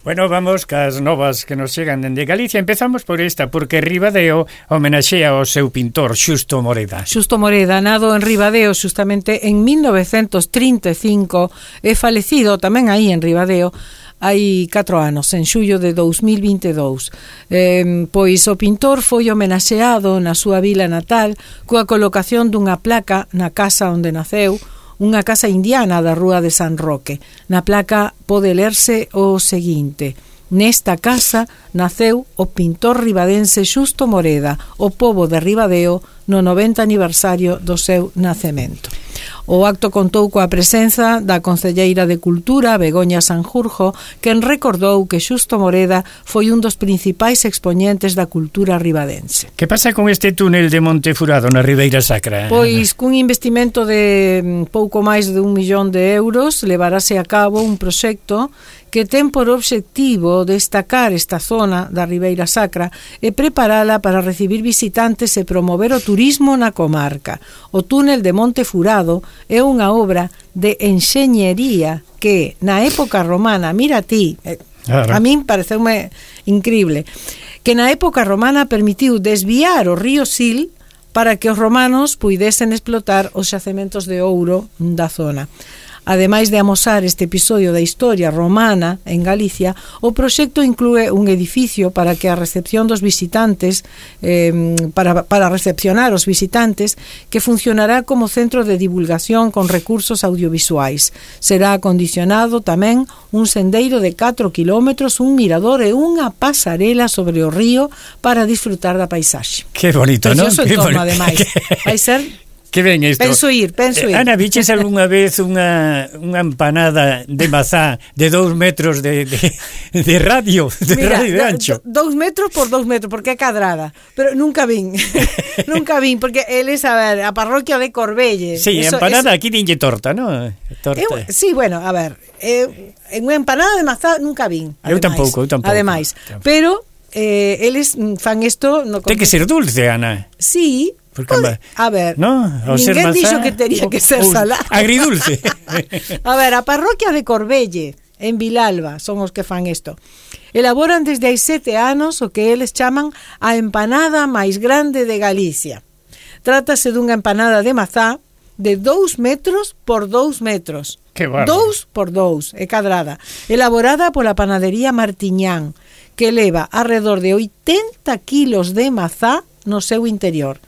Bueno, vamos cas novas que nos chegan dende Galicia. Empezamos por esta, porque Ribadeo homenaxea ao seu pintor Xusto Moreda. Xusto Moreda, nado en Ribadeo xustamente en 1935 e falecido tamén aí en Ribadeo hai 4 anos, en xullo de 2022. Pois o pintor foi homenaxeado na súa vila natal coa colocación dunha placa na casa onde naceu, unha casa indiana da Rúa de San Roque. Na placa pode lerse o seguinte: nesta casa naceu o pintor ribadense Xusto Moreda, o pobo de Ribadeo, no 90 aniversario do seu nacemento. O acto contou coa presenza da concelleira de Cultura, Begoña Sanjurjo, quen recordou que Xusto Moreda foi un dos principais expoñentes da cultura ribadense. Que pasa con este túnel de Monte Furado na Ribeira Sacra? Pois cun investimento de pouco máis de 1 millón de euros levarase a cabo un proxecto que ten por obxectivo destacar esta zona da Ribeira Sacra e preparala para recibir visitantes e promover o turismo na comarca. O túnel de Monte Furado é unha obra de enxeñería que na época romana, mira ti, a min pareceume increíble, que na época romana permitiu desviar o río Sil para que os romanos puidesen explotar os xacementos de ouro da zona. Ademais de amosar este episodio da historia romana en Galicia, o proxecto inclúe un edificio para que a recepción dos visitantes, para recepcionar os visitantes, que funcionará como centro de divulgación con recursos audiovisuais. Será acondicionado tamén un sendeiro de 4 kilómetros, un mirador e unha pasarela sobre o río para disfrutar da paisaxe. Que bonito, non? Precioso entorno, ademais. Vai ser... Que ben isto. Penso ir. Ana, viches algunha vez unha empanada de mazá de 2 metros de radio, Mira, radio de ancho? 2 metros por 2 metros, porque é cadrada. Pero nunca vin, porque eles, a ver, a parroquia de Corbelle. Sí, eso, empanada, aquí dinlle torta, ¿no? Torta. Sí, bueno, a ver, en unha empanada de mazá nunca vin. Eu tampouco. Ademais, pero eles fan isto... Ten que ser dulce, Ana. Sí. Porque, a ver, ¿no? ninguén dixo que tería que ser salado. Agridulce. A ver, a parroquia de Corbelle, en Vilalba, son os que fan isto. Elaboran desde hai 7 anos o que eles chaman a empanada máis grande de Galicia. Trátase dunha empanada de mazá de 2 metros por 2 metros. Que barro. 2 por 2, é cadrada. Elaborada pola panadería Martiñán, que leva alrededor de 80 kilos de mazá no seu interior.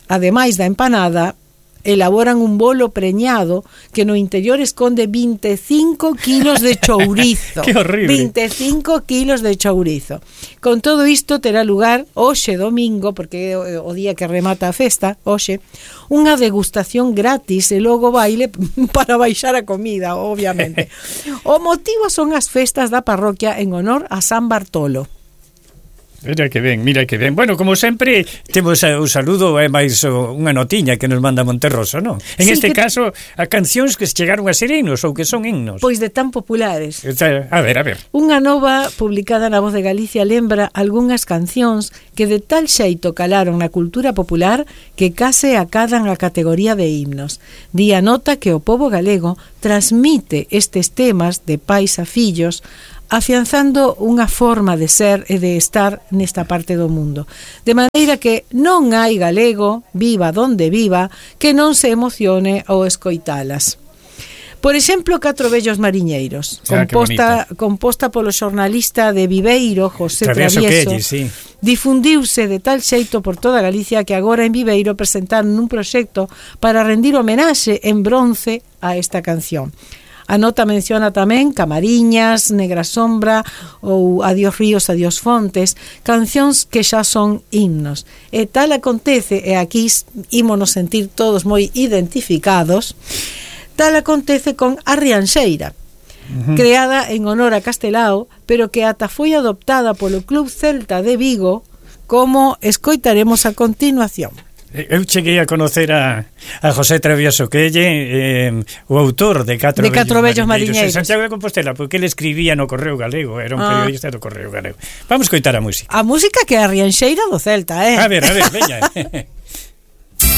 Ademais da empanada, elaboran un bolo preñado que no interior esconde 25 kilos de chourizo. ¡Qué horrible! 25 kilos de chourizo. Con todo isto terá lugar hoxe domingo, porque é o día que remata a festa, hoxe, unha degustación gratis e logo baile para baixar a comida, obviamente. O motivo son as festas da parroquia en honor a San Bartolo. Mira que ben. Bueno, como sempre, temos o saludo e máis unha notiña que nos manda Monterroso, non? En sí, este caso, a cancións que chegaron a ser himnos ou que son himnos. Pois de tan populares. A ver. Unha nova publicada na Voz de Galicia lembra algunhas cancións que de tal xeito calaron na cultura popular que case acadan a categoría de himnos. Di a nota que o pobo galego transmite estes temas de pais a fillos, afianzando unha forma de ser e de estar nesta parte do mundo. De maneira que non hai galego, viva donde viva, que non se emocione ao escoitalas. Por exemplo, 4 vellos mariñeiros, composta polo xornalista de Viveiro, José Travieso, sí. Difundiuse de tal xeito por toda Galicia que agora en Viveiro presentaron un proxecto para rendir homenaxe en bronce a esta canción. A nota menciona tamén Camariñas, Negra Sombra ou Adiós Ríos, Adiós Fontes, cancións que xa son himnos. E tal acontece, e aquí ímonos sentir todos moi identificados, tal acontece con A Rianxeira, creada en honor a Castelao, pero que ata foi adoptada polo Club Celta de Vigo, como escoitaremos a continuación. Eu cheguei a conocer a José Travieso, que é o autor de 4 vellos mariñeiros en Santiago de Compostela, porque ele escribía no Correo Galego, era un periodista do Correo Galego. Vamos coitar a música. A música que é a Rianxeira do Celta, A ver, veña.